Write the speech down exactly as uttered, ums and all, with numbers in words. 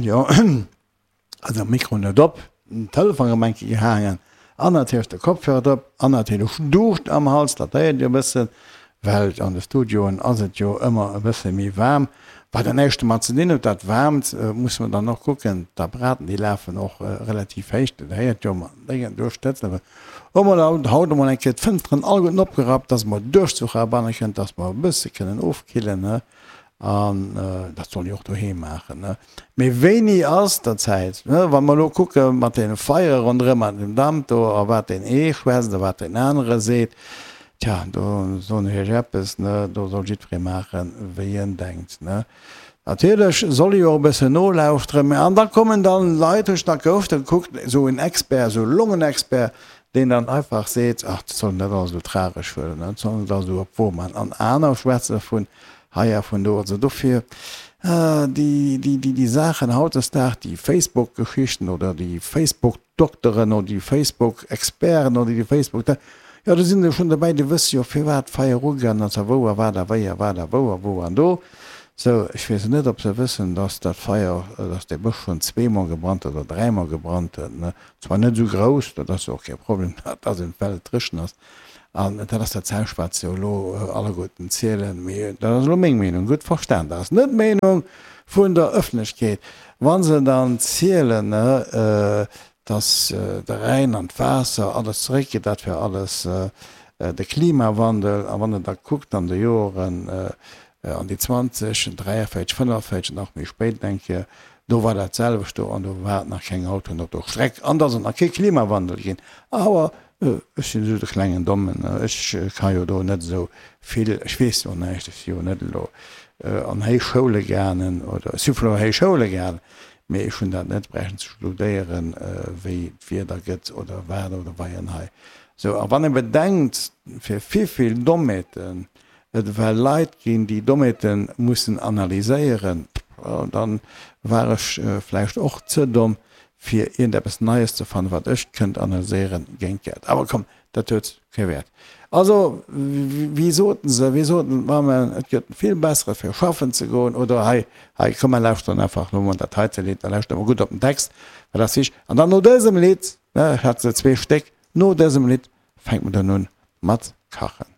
Jo, also Mikro net op, den Telefon erëm eng Kéier gehaangen an natierlech de Kopfhörer drop an natierlech Duuscht am Hals, dat héiert Dir e bëssen, well an de Studioen ass et jo ëmmer e bësse méi waarm. Wat dat näischt domat ze dinn huet, dat Waarmt, musse mer dann och kucken, d'Apparaten, déi lafen och relativ héich, dat héiert jo mat déngen Duuscht. Hu mer haut emol eng Kéier d'Fënsteren alleguerten opgerappt, dass mer Duerchzuch erabanne kënnt, dass mer e bësse kënnen ofkillen, ne? An dat soll ee och doheem maachen, ne? Mee wéini ass der Zäit, ne? Wa mer elo kucke mat deene Feiere ronderëm an dem Damp do a wat deen ee schwätzt a wat deen anere seet, Tja, do soen ech Iech eppes, ne, do soll jiddweree maachen, wéi en denkt, ne. Natierlech soll ee jo och e bëssen nolauschteren, mä an da kommen dann Leit, hu ech nach gehofft, da kuckt esou en Expert, esou e Longenexpert, deen dann einfach seet, ach, dat soll een net alles esou tragesch huelen, ne, dat soll een net alles esou op d'Wo maachen. An aner schwätze vun hei a vun do. Also dofir, déi, déi, déi, déi Saachen hautdesdaags, déi Facebook-Geschichten oder déi Facebook-Dokteren oder déi Facebook-Experten oder déi Facebook, jo, do sinn der schonn dobäi, déi wësse jo firwat d'Feier ugaangen ass a wou a wat a wéi a wat a wou a wou an do. Sou, ech weess net, ob se wëssen, dass dat Feier, dass dee Bësch schonn zweemol gebrannt huet oder dräimol gebrannt huet, ne? Zwar net esou grouss, dat ass jo och kee Problem, dass en well et dréchen ass. An dat ass dat selwecht, wat se jo elo alleguerten zielen. Mee dat ass elo meng Meenung, gutt verstan, dat ass net d'Meenung vun der Ëffentlechkeet. Wa se dann zielen, ne, dass de Rhäin an d'Waasser alles zeréckgeet, dat wär alles de Klimawandel. A wann Der da kuckt an de Joren an déi zwanzeg, dräiavéierzeg, fënnefavierzeg, nach méi spéit eng Kéier, do war dat selwecht do an do war et nach keng Autoen op der Streck an et ass et nach kee Klimawandel ginn. Awer ech sinn esou de klengen Dommen, ech ka jo do net esou vill, ech weess jo näischt, ech si jo net elo an Héichschoule gaangen oder ech si vun Héichschoule gaangen, Mee ech hunn dat net bräichten ze studéieren, wéi d'Wieder gëtt oder wat oder wei an hei. Sou, a wann ee bedenkt, fir vivill Dommheeten et ewell Leit ginn, déi Dommheete mussen analyséieren, da war ech vläicht och ze domm, fir iergendeppes Neies ze fannen, wat ech kënnt analyséieren géint Geld. Awer komm, dat huet kee Wäert. Also, wéi soten se, wéi soten d'Mammen, et gëtt vill bessere fir schaffen ze goen, oder hei, hei, komm mer lauschteren einfach elo mol dat heite Lidd, da lauschtere mer gutt op den Text, well dat ass wichteg. An dann no dësem Lidd, ne, ech hat se zwee Stéck, no dësem Lidd fänkt mer dann un mat kachen.